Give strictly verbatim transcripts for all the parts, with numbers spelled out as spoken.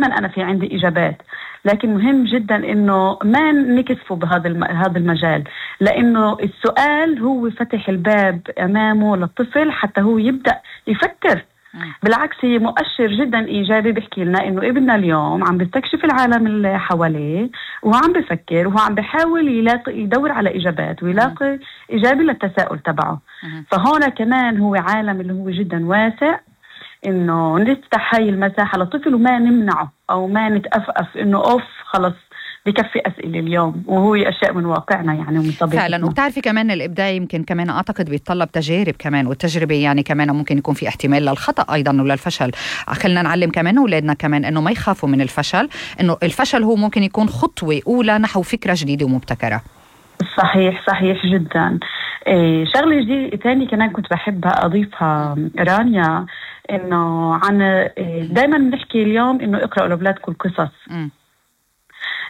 دائما أنا في عندي إجابات، لكن مهم جدا إنه ما نكسفه بهذا الم... هذا المجال، لأنه السؤال هو فتح الباب أمامه للطفل حتى هو يبدأ يفكر. بالعكس هي مؤشر جدا إيجابي بيحكي لنا إنه ابننا اليوم عم بيستكشف العالم اللي حواليه وهو عم بفكر وهو عم بيحاول يلاقي يدور على إجابات ويلاقي إجابة للتساؤل تبعه. فهون كمان هو عالم اللي هو جدا واسع، إنه نفتح هاي المساحة للطفل وما نمنعه أو ما نتأفأف إنه أوف خلص بكفي أسئلة اليوم، وهو أشياء من واقعنا يعني ومن طبيعتنا فعلا. وبتعرفي كمان الإبداع يمكن كمان أعتقد بيتطلب تجارب كمان، والتجربة يعني كمان ممكن يكون في احتمال للخطأ أيضا وللفشل. خلنا نعلم كمان أولادنا كمان إنه ما يخافوا من الفشل، إنه الفشل هو ممكن يكون خطوة أولى نحو فكرة جديدة ومبتكرة. صحيح صحيح جدا. إيه شغلة جديدة تاني كمان كنت بحب أضيفها رانيا، إنه عن إيه دايما بنحكي اليوم إنه اقرأوا لأولادكم القصص، م.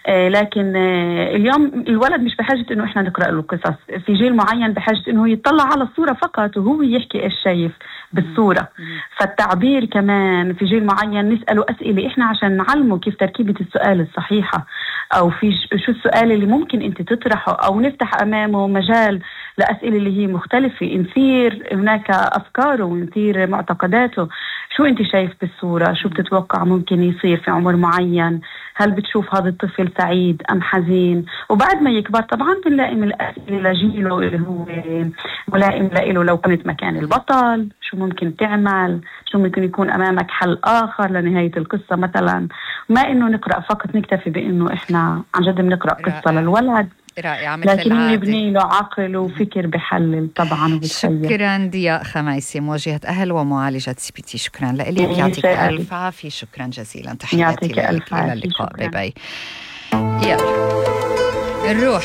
إيه لكن إيه اليوم الولد مش بحاجة إنه إحنا نقرأ له القصص، في جيل معين بحاجة إنه يطلع على الصورة فقط وهو يحكي إيش شايف بالصورة. م. فالتعبير كمان في جيل معين نسأله أسئلة إحنا عشان نعلمه كيف تركيبة السؤال الصحيحة، أو في شو السؤال اللي ممكن أنت تطرحه، أو نفتح أمامه مجال لأسئلة اللي هي مختلفة، نثير هناك أفكاره ونثير معتقداته. شو أنت شايف بالصورة؟ شو بتتوقع ممكن يصير في عمر معين؟ هل بتشوف هذا الطفل سعيد أم حزين؟ وبعد ما يكبر طبعا بنلائم الأسئلة لجيله اللي هو ملائم له. لو كنت مكان البطل شو ممكن تعمل؟ شو ممكن يكون أمامك حل آخر لنهاية القصة مثلا؟ ما إنه نقرأ فقط نكتفي بإنه إحنا عن جد بنقرأ قصة للولد، رائعة مثل لكن العادة، نبني له عقل وفكر بحلل طبعا وبتخيل. شكرا ضياء خميسي، موجهة أهل ومعالجة سي بي تي. شكرا لك، يعطيك ألف عافية. شكرا جزيلا، تحياتي لك، إلى اللقاء. باي باي. يلا نروح